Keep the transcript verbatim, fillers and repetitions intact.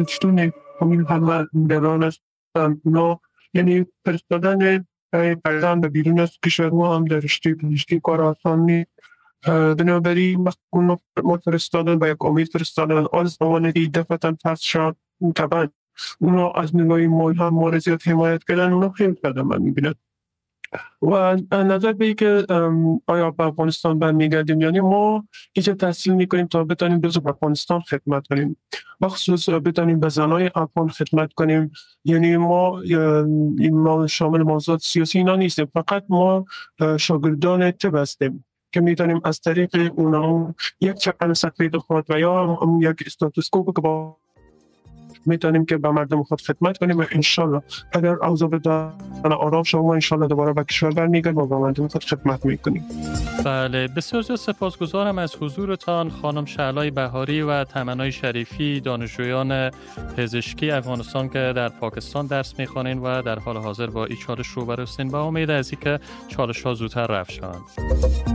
پشتون همین همه نگران هستن. اونا یعنی فرستادن فرزند به بیرون از کشور ما هم در رشته پزشکی کار آسان نیست. بنابراین وقتی اونا ما فرستادن با یک امید فرستادن، آن زمان دفعتا پس شد، طبعا اونا از نگاه مال هم ما رو زیاد حمایت کردن، اونا خیلی کردن من میبینم. و نظر به اینکه آیا به افغانستان برمیگردیم، یعنی ما اینجا تحصیل میکنیم تا بتانیم به افغانستان خدمت کنیم، بخصوص بتانیم به زنای افغان خدمت کنیم. یعنی ما، ما شامل موضوعات سیاسی اینا نیستیم، فقط ما شاگردان طب هستیم که میتونیم از طریق اونا یک چکن سفید خود و یا یک استاتوسکوپ که با میتونیم که به مردم خود خدمت کنیم و انشالله اگر اوضاع به آرام شما ما انشالله دوباره به کشور برمیگردیم و به مردم خود خدمت میکنیم. بله، بسیار زیاد سپاسگزارم از حضورتان خانم شعلای بهاری و تمنای شریفی، دانشجویان پزشکی افغانستان که در پاکستان درس میخوانین و در حال حاضر با این چالش روبرو هستین، با امید از اینکه چالش ها زودتر رفع شوند.